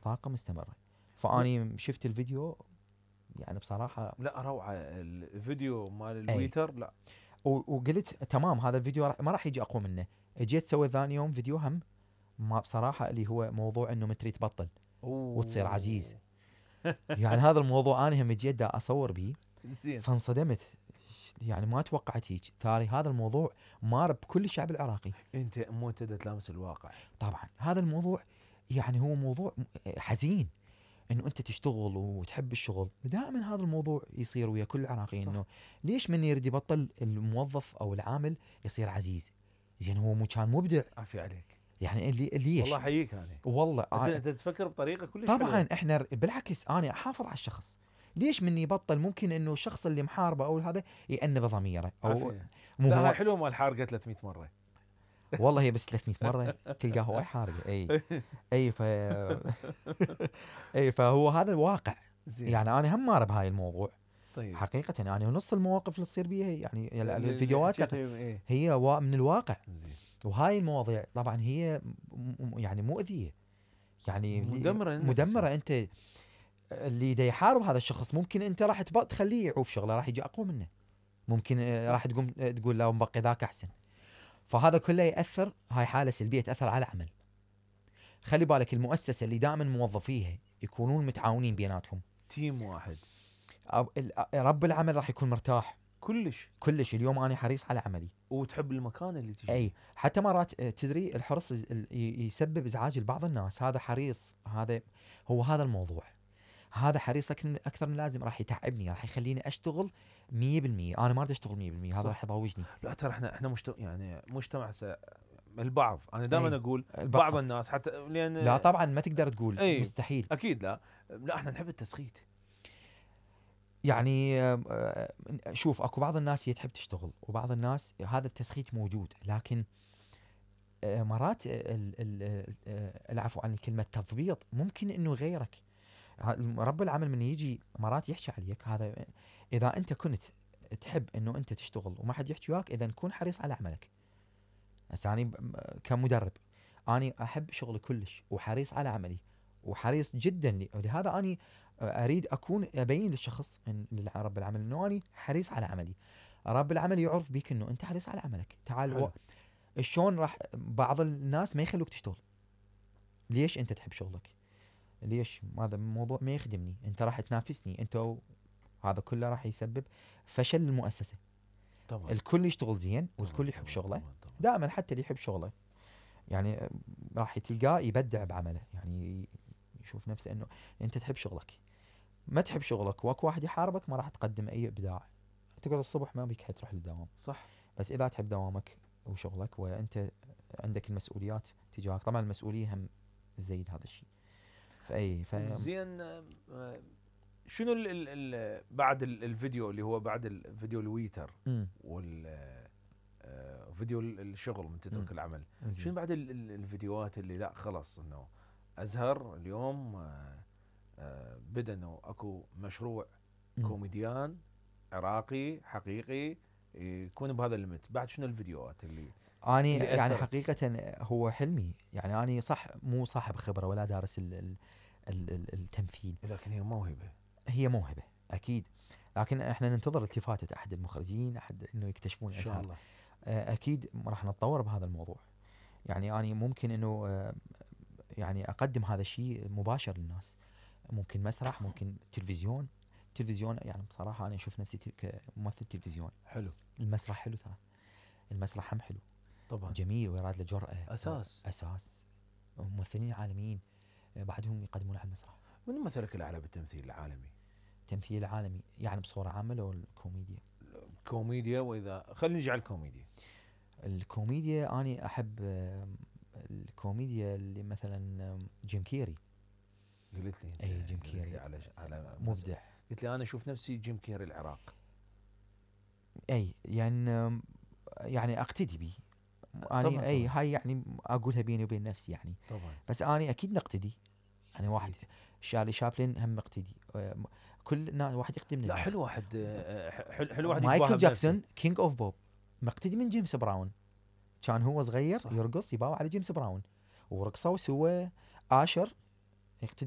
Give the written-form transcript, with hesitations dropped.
طاقة مستمرة. فاني شفت الفيديو يعني بصراحة لا روعة الفيديو مال أي. الويتر. لا وقلت تمام هذا الفيديو ما راح يجي اقوى منه. جيت سوي ثاني يوم فيديو هم ما بصراحة اللي هو موضوع انه متري تبطل وتصير عزيز. يعني هذا الموضوع انا هم جيت دا اصور بيه زين. فانصدمت. يعني ما توقعت هيك ثاني هذا الموضوع مار بكل الشعب العراقي. انت مو انت دا تلامس الواقع. طبعا هذا الموضوع يعني هو موضوع حزين انه انت تشتغل وتحب الشغل. دائما هذا الموضوع يصير ويا كل العراقيين انه ليش من يريد يبطل الموظف او العامل يصير عزيز. زين هو كان مبدع. عافية عليك. يعني ليش والله حييك انا. والله انت تفكر بطريقة كلش طبعا حلوة. احنا بالعكس انا احافظ على الشخص. ليش من يبطل ممكن انه الشخص اللي محاربه او هذا يأنب ضميره او عافية. مو لا هو. هاي حلوة مال حارقة 300 مرة. والله هي بس 300 مرة تلقاه هواي حارقة. اي اي فهو هذا الواقع. زين. يعني انا هم مار بهاي الموضوع. طيب حقيقة يعني نص المواقف اللي تصير بيها يعني الفيديوهات ايه. هي من الواقع. زين. وهاي المواضيع طبعا هي يعني مؤذية. يعني مدمرة مدمرة. انت اللي دا يحارب هذا الشخص ممكن انت راح تخليه يعوف شغله راح يجي اقوى منه. ممكن راح تقوم تقول لا مبقي ذاك احسن. فهذا كله ياثر. هاي حالة سلبية تاثر على العمل. خلي بالك المؤسسة اللي دائما موظفيها يكونون متعاونين بيناتهم تيم واحد. رب العمل راح يكون مرتاح كلش. اليوم انا حريص على عملي وتحب المكان اللي تجي. اي حتى مرات تدري الحرص يسبب ازعاج لبعض الناس. هذا حريص هذا الموضوع. هذا حريص اكثر من اللازم راح يتعبني راح يخليني اشتغل 100%. انا ما اريد اشتغل 100%. هذا راح يضوجني. لا ترى احنا مجتمع البعض. انا دائما اقول بعض بعض الناس حتى لان لا طبعا ما تقدر تقول مستحيل. اكيد لا احنا نحب التسخيت. يعني شوف اكو بعض الناس تحب تشتغل وبعض الناس هذا التسخيت موجود. لكن مرات العفو عن الكلمة تضبيط ممكن انه يغيرك. رب العمل من يجي مرات يحكي عليك هذا. اذا انت كنت تحب انه انت تشتغل وما حد يحكي وياك اذا كون حريص على عملك. هسه انا كمدرب اني احب شغلي كلش وحريص على عملي وحريص جدا لهذا اني اريد اكون ابين للشخص رب العمل انه اني حريص على عملي. رب العمل يعرف بيك انه انت حريص على عملك. تعال شلون راح بعض الناس ما يخلوك تشتغل. ليش انت تحب شغلك. ليش هذا الموضوع ما يخدمني. انت راح تنافسني انت هذا كله راح يسبب فشل المؤسسة. طبعا. الكل يشتغل زين والكل يحب شغله. دائما حتى اللي يحب شغله يعني راح تلقاه يبدع بعمله. يعني يشوف نفسه انه انت تحب شغلك. ما تحب شغلك واكو واحد يحاربك ما راح تقدم اي ابداع. تقعد الصبح ما بيك حد تروح للدوام. صح. بس اذا تحب دوامك وشغلك وانت عندك المسؤوليات تجاهك. طبعا المسؤولية هم تزيد هذا الشيء. زين. شنو بعد الفيديو اللي هو بعد الفيديو الويتر فيديو الشغل من تترك العمل. شنو بعد الفيديوهات اللي لا خلص انه ازهر اليوم بدا انه اكو مشروع كوميديان عراقي حقيقي يكون بهذا الليمت. بعد شنو الفيديوهات اللي اني يعني حقيقة هو حلمي. يعني اني صح مو صاحب خبرة ولا دارس التمثيل. لكن هي موهبة اكيد. لكن احنا ننتظر التفاتة احد المخرجين احد انه يكتشفون ان شاء الله. اكيد راح نتطور بهذا الموضوع. يعني اني ممكن انه يعني اقدم هذا الشيء مباشر للناس. ممكن مسرح ممكن تلفزيون يعني بصراحة انا اشوف نفسي كممثل تلفزيون. حلو. المسرح حلو ترى. المسرح هم حلو طبعا. جميل ويراد له جرأة. اساس ممثلين عالميين بعدهم يقدمون على المسرح. من مثلك الاعلى بالتمثيل العالمي؟ التمثيل العالمي يعني بصورة عامة لو الكوميديا؟ كوميديا. واذا خلينا نجي على الكوميديا اني احب الكوميديا اللي مثلا جيم كيري. قلت لي انت اي جيم كيري على مبدع. قلت لي انا اشوف نفسي جيم كيري العراق. اي يعني اقتدي به. اني اي هاي يعني اقولها بيني وبين نفسي يعني. طبعا. بس اني اكيد نقتدي. يعني واحد شارلي شابلن هم مقتدي. كل واحد يقدم لنا. لا حلو واحد حلو واحد. مايكل جاكسون كينج اوف بوب مقتدي من جيمس براون. كان هو صغير صح. يرقص يباوع على جيمس براون ورقصوا سوى آشر يقتدي